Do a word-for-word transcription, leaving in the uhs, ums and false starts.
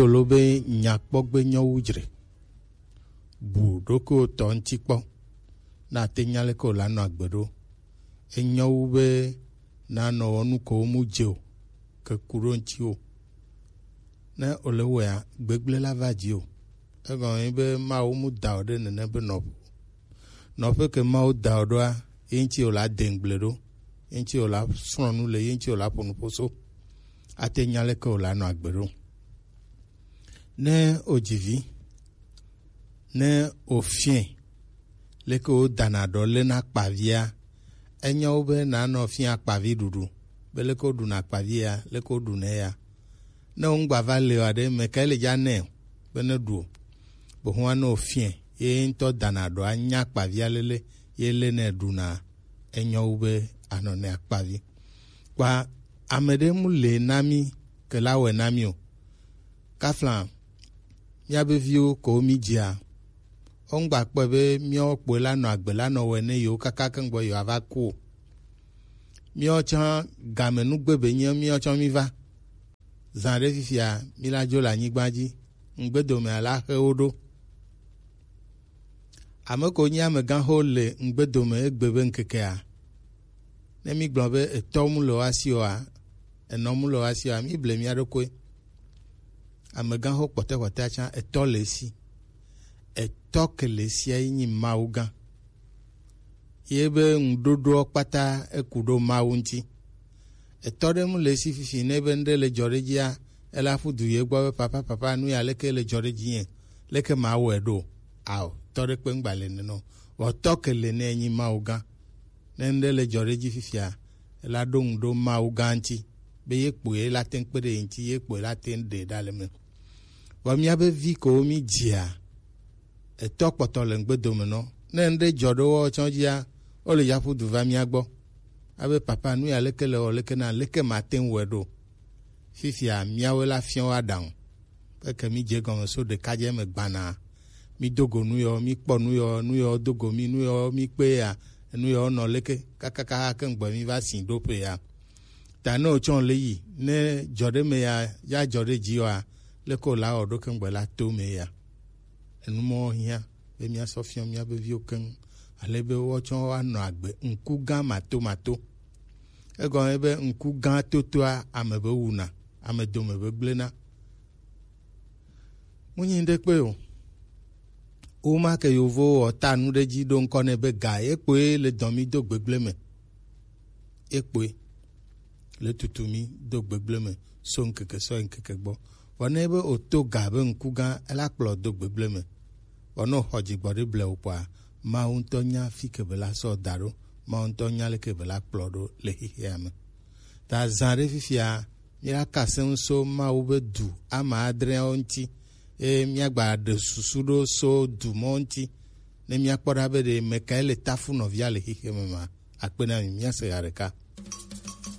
Olo be nyakpɔgbe nyɔ wu dzre. Bu ɖokuiwò tɔ ŋuti kpɔ. Ne àte nya leke wòle anɔ agbe ɖo. Enyɔ wu be nànɔ wɔ nu ko mu dze o, ke ku ɖo ŋutiwò. Ne wòle wɔea, gbegblẽ la va dzi o. Egɔme ye be Mawu mu da wò ɖe nene be nɔƒe. Nɔƒe ke Mawu da wò ɖoa, ye ŋuti wòle ade ŋugble ɖo, ye ŋuti wòle asrɔ̃ nu le, ye ŋuti wòle aƒo nuƒo so. Ate nya leke wòle anɔ agbe ɖo. Ne wòdzi vi, ne wòfiɛ leke wodana ɖɔ lena akpavia, enyo wu be nànɔ fia akpavi ɖuɖu, be leke woɖuna akpavia, leke woɖunɛ ya. Ne wò ŋgba va le o aɖe, mɛ kae le dza nɛ o, be ne ɖu o. Bohua ne wòfiɛ, ye ŋutɔ dana ɖɔ anya akpavia lele, ye le ne ɖuna, enyo wu be anɔ ne akpavi. Kpa ame ɖe mu le na mí ke la wɔe na mí o. Kafla míabe viwo ko mí dzia, wo ŋgba kpɔe be míawo kpoe la nɔ agbe la nɔ wɔe ne yewo kaka keŋgbɔ yewo ava ku o. Míawo tsã game nugbe be nye míawo tsã mí va. Zã ɖe fifia, mí la dzo le anyigba dzi. Ŋugbedomea la xe wo ɖo. Ame ko nyi amegãxo le ŋugbe dome egbe be ŋkekea, ne mígblɔ be etɔ mu le woasi oa, enɔ mu le woasi oa, míble mía ɖokui. Amegãxo kpɔtɔkpɔtɔa tsã etɔ le esi. Etɔ ke le esia ye nyi Mawu gã. Ye be ŋuɖoɖoa kpata eku ɖo Mawu ŋuti. Etɔ ɖe mu le esi fifi ne be ŋɖe le dzɔ ɖe dzia, ele aƒu du ye gbɔ be, "Papa, papa, nu ya leke le dzɔ ɖe dzinye? Leke mawɔe ɖo?" Ao, tɔ ɖe kpe ŋgba le nenɔ. Vɔ tɔ ke le ne enyi Mawu gã. Ne ŋɖe le dzɔ ɖe dzi fifia, ela ɖo ŋu ɖo Mawu gã ŋuti, be ye kpoe la te ŋu kpe ɖe ye ŋuti, ye kpoe la te ŋu ɖe ɖa le me. Vɔ míabe vi kewo mí dzia, etɔ kpɔtɔ le ŋugbe dome nɔ. Ne ŋɖe dzɔ ɖe wo tsɔ dzia, wo le yaƒu du va mía gbɔ. Abe, "Papa, nu ya leke le wɔ leke na, leke mate ŋu wɔe ɖo?" Fifia, míawoe la fiɔ wo aɖaŋu. Eke mí dze gɔme so ɖekadze me gbana. Mí do go nu yɔ, mí kpɔ nu yɔ, nu yɔ do go mí, nu yɔ mí kpe ya, nu yɔ nɔ leke, kakaka ke ŋgbe mí va si ɖo ƒe ya. Ta ne wotsɔ le yi, ne dzɔ ɖe me ya, ya dzɔ ɖe dzi wa, leke wòla wɔ ɖo ke ŋgbe la to me ya. Enu mɔ hiã be míasɔ fiɔ míabe viwo keŋ, ale be woatsɔ woanɔ agbe ŋku gã matomato. Egɔme be ŋku gã totoa ame be wuna, ame dome be gblẽna. Munyi ɖe kpe o. Woma ke yovowo wɔ ta nu ɖe dzi ɖo ŋkɔ nɛ be ga ye kpoe le dɔn mí do gbegblẽ me. Ye kpoe le tutu mí do gbegblẽ me so ŋkeke sɔ yi ŋkeke gbɔ. Vɔ ne be wòto ga be ŋku gã, ela kplɔ do gbegblẽ me. Vɔ ne wòxɔ dzigbɔɖi blewu kpɔa, Mawu ŋutɔ nya fi ke be la sɔ da ɖo. Mawu ŋutɔ nya leke be la kplɔ ɖo le xexea me. Ta zã ɖe fifia, míaka sẽŋu so Mawu be du ame adreawo ŋuti, eye míagba ɖe susu ɖo so du mɔ ŋuti, ne míakpɔ ɖa be ɖe mekae le tafu nɔvia le xexea me ma. Akpe na mi, míase ɣa ɖeka.